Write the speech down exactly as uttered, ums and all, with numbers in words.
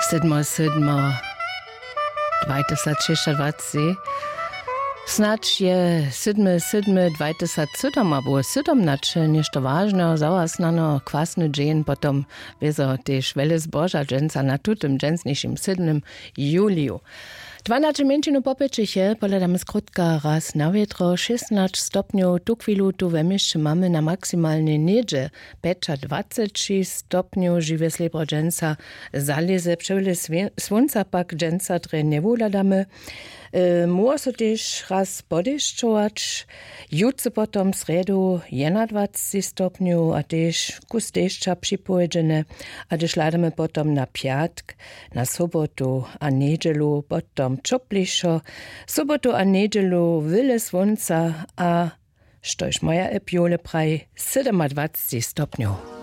Sydmo sydmo dwajtysacšěsćadwaceći. Snadź je sydmy sydmy dwajtysacšěsćadwaceći abo sydom na će něšto wažneho za was nano kwasny dźeń potom wězo tež wjele zboža dźensa na tutym dźensnišim sydnym juliju. Dwanaće mjeńšinu popjećiche pohladamy skrótka raz na wětro šěsnać stopnjow tuchwilu tu we měsće mamy na maksimalnej něhdźe pjećadwaceći stopnjow žiwje slěbro dźensa zalěze přewle słónca pak dźensa drje njewuhladamy. Móhło so tež raz podešćować jutře potom srjedu jednadwaceći stopnjow a tež kus dešća připowědźene. A hdyž hladamy potom na pjatk, na sobotu a njedźelu potom ćoplišo. Sobotu a njedźelu wyle słónca a štož moja epjole praji sydomadwaceći stopnjow.